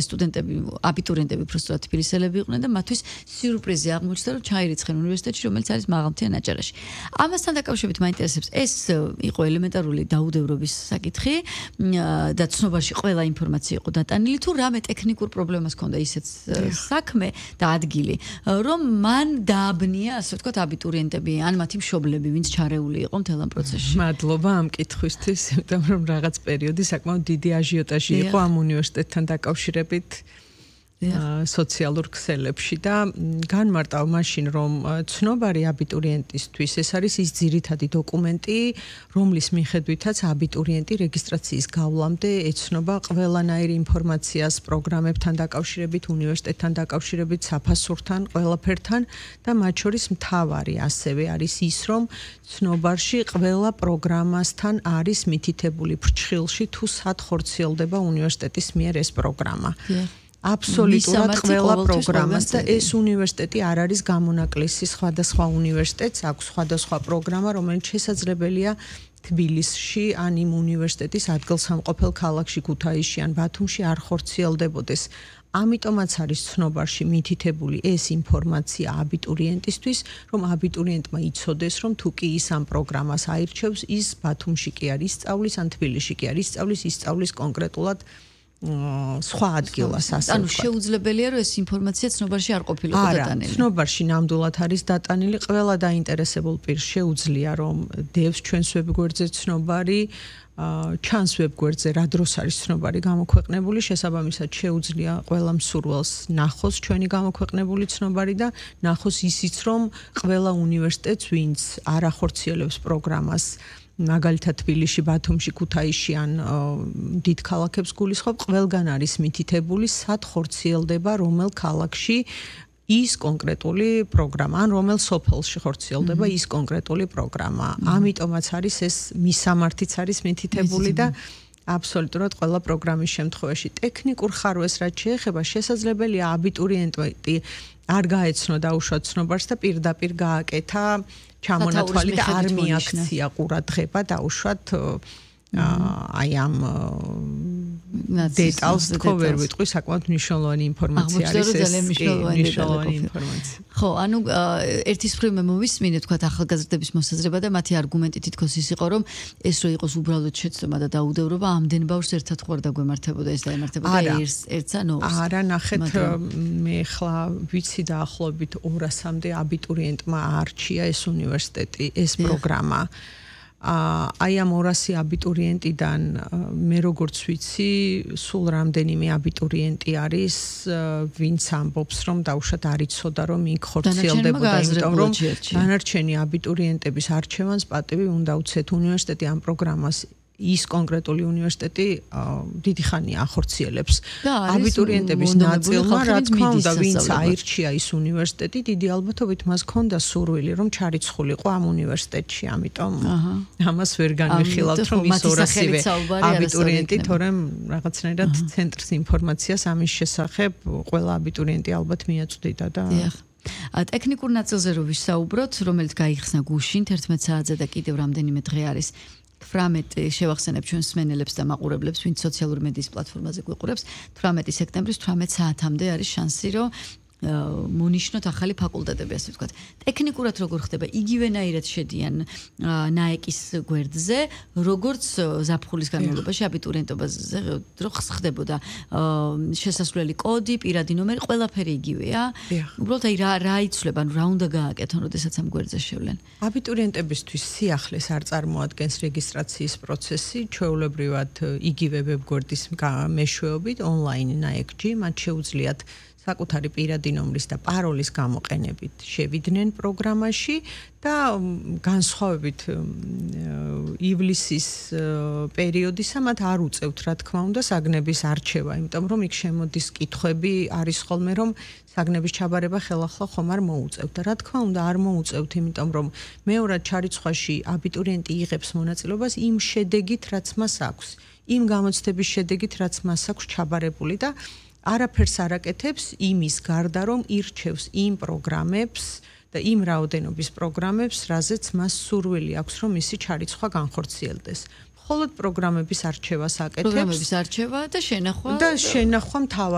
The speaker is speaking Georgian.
სტუდენტები, აბიტურიენტები უბრალოდ თბილისელები იყვნენ და მათთვის სიურპრიზი აღმოჩნდა, რომ ჩაირიცხენ უნივერსიტეტში, რომელიც არის მაღალმთიან აჭარაში. ამასთან დაკავშირებით მაინტერესებს, ეს იყო ელემენტარული დაუდევრობის საკითხი და ცნობაში ყველა ინფორმაცია იყო დატანილი, თუ რამე ტექნიკურ პრობლემას ჰქონდა ისეთ საქმე და ადგილი, რომ მან დააბნია, ასე ვთქვათ, აბიტურიენტები ან მათი მშობლები, ვინც ჩარეული იყო მთელ ამ პროცესში. მადლობა ამ კითხვისთვის, იმიტომ რომ რაღაც პერიოდი საკმაოდ დიდი აჟიოტაჟი იყო ამ უნივერსიტეტთან დაკავშირებით. სოციალურ ქსელებში და განმარტავ მაშინ რომ ცნობარი აბიტურიენტისთვის ეს არის ის ძირითადი დოკუმენტი, რომლის მიხედვითაც აბიტურიენტი რეგისტრაციის გავლამდე ეცნობა ყველანაირ ინფორმაციას პროგრამებთან დაკავშირებით, უნივერსიტეტთან დაკავშირებით, საფასურთან, ყველაფერთან და მათ შორის მთავარი ასევე არის ის, რომ ცნობარში ყველა პროგრამასთან არის მითითებული ფრჩხილში თუ სად ხორციელდება უნივერსიტეტის მიერ ეს პროგრამა. აბსოლუტურად ყველა პროგრამას და ეს უნივერსიტეტი არ არის გამონაკლისი სხვადასხვა უნივერსიტეტს აქვს სხვადასხვა პროგრამა, რომელიც შესაძლებელია თბილისში ან იმ უნივერსიტეტის ადგილსამყოფელ ქალაქში, ქუთაისში ან ბათუმში არ ხორციელდებოდეს. ამიტომაც არის ცნობარში მითითებული ეს ინფორმაცია აბიტურიენტისთვის, რომ აბიტურიენტმა იცოდეს, რომ თუ კი ის ამ პროგრამას აირჩევს, ის ბათუმში კი არ ისწავლის, ან თბილისში კი არ ისწავლის, ისწავლის კონკრეტულად სხვა ადგილას ასე. ანუ შეუძლებელია რომ ეს ინფორმაცია ცნობარში არ ყოფილიყო დატანილი. არა, ცნობარში ნამდვილად არის დატანილი, ყველა დაინტერესებულ პირს შეუძლია რომ დევს ჩვენს ვებგვერდზე ცნობარი, ჩანს ვებგვერდზე რა დროს არის ცნობარი გამოქვეყნებული, შესაბამისად შეუძლია ყველა მსურველს ნახოს ჩვენი გამოქვეყნებული ცნობარი და ნახოს ისიც რომ ყველა უნივერსიტეტს ვინც არ ახორციელებს პროგრამას მაგალითად თბილისში, ბათუმში, ქუთაისში ან დიდ ქალაქებს გულისხმობ, ყველგან არის მითითებული, სად ხორციელდება რომელ ქალაქში ის კონკრეტული პროგრამა, ან რომელ სოფელში ხორციელდება ის კონკრეტული პროგრამა. ამიტომაც არის ეს მისამართიც არის მითითებული და აბსოლუტურად ყველა პროგრამის შემთხვევაში ტექნიკურ ხარვეს რაც შეეხება, შესაძლებელია აბიტურიენტი არ გაეცნო დაუშვათ ცნობარს და პირდაპირ გააკეთა ჩამონათვალი და არ მიაქცია ყურადღება დაუშვათ აი ამ დეტალს თქო ვერ ვიტყვი, საკმაოდ მნიშვნელოვანი ინფორმაცია არის ეს მნიშვნელოვანი ინფორმაცია. ხო, ანუ ერთის მხრივ მე მოვისმინე თქვა ახალგაზრდების მოსაზრება და მათი არგუმენტი თითქოს ის იყო, რომ ეს რო იყოს უბრალოდ შეცდომა და დაუდევრობა, ამდენ ბავშვს ერთად ხوار დაგვემართებოდა ეს დაემართებოდა ერთს ან ორს. არა, ნახეთ, მე ხლა ვიცი დაახლოებით 200-მდე აბიტურიენტმა არჩია ეს უნივერსიტეტი, ეს პროგრამა. აი ამ 200 აბიტურიენტიდან მე როგორც ვიცი, სულ რამდენიმე აბიტურიენტი არის, ვინც ამბობს, რომ დაუშვათ არ იცოდა, რომ იქ ხორციელდებოდა, იმიტომ რომ დანარჩენი აბიტურიენტების არჩევანს პატივი უნდა უცეთ უნივერსიტეტი ამ პროგრამას ის კონკრეტული უნივერსიტეტი დიდი ხანია ახორციელებს. აბიტურიენტების ნაწილმა, რა თქმა უნდა, ვინც აირჩია ის უნივერსიტეტი, დიდი ალბათობით მას ჰქონდა სურვილი, რომ ჩარიცხულიყო ამ უნივერსიტეტში, ამიტომ ამას ვერ განვიხილავთ, რომ ის 200-ვე აბიტურიენტი, თორემ რაღაცნაირად ცენტრს ინფორმაციას ამის შესახებ ყველა აბიტურიენტი ალბათ მიაწვდიდა და ტექნიკურ ნაწილზე რო ვისაუბროთ, რომელიც გაიხსნა გუშინ 11 საათზე და კიდევ რამდენიმე დღე არის 18 შევახსენებ ჩვენს მსმენელებს და მაყურებლებს, ვინც სოციალური მედიის პლატფორმაზე გვიყურებს, 18 სექტემბრის 18 საათამდე არის შანსი, რომ მონიშნოთ ახალი ფაკულტეტები, ასე ვთქვათ. ტექნიკურად როგორ ხდება? იგივენაირად შედიან ნაეკის გვერდზე, როგორც ზაფხულის განმავლობაში აბიტურიენტობაზე რო ხდებოდა შესასვლელი კოდი, პირადი ნომერი, ყველაფერი იგივეა. უბრალოდ აი რა იცვლება, ანუ რა უნდა გააკეთონ, როდესაც ამ გვერდზე შევლენ. აბიტურიენტებისთვის სიახლეს არ წარმოადგენს რეგისტრაციის პროცესი, ჩვეულებრივად იგივე ვებგვერდის მეშვეობით ონლაინ ნაეკჯი, მათ შეუძლიათ საკუთარი პირადი ნომრის და პაროლის გამოყენებით შევიდნენ პროგრამაში და განსხვავებით ივლისის პერიოდისა მათ არ უწევთ, რა თქმა უნდა, საგნების არჩევა, იმიტომ რომ იქ შემოდის კითხვები, არის ხოლმე რომ საგნების ჩაბარება ხელახლა ხომ არ მოუწევთ და რა თქმა უნდა არ მოუწევთ, იმიტომ რომ მეორად ჩარიცხვაში აბიტურიენტი იღებს მონაწილეობას იმ შედეგით, რაც მას აქვს, იმ გამოცდების შედეგით, რაც მას აქვს ჩაბარებული და არაფერს არ აკეთებს იმის გარდა, რომ ირჩევს იმ პროგრამებს და იმ რაოდენობის პროგრამებს, რაზეც მას სურვილი აქვს, რომ მისი ჩარიცხვა განხორციელდეს. მხოლოდ პროგრამების არჩევას აკეთებს. პროგრამების არჩევა და შენახვა მთავარი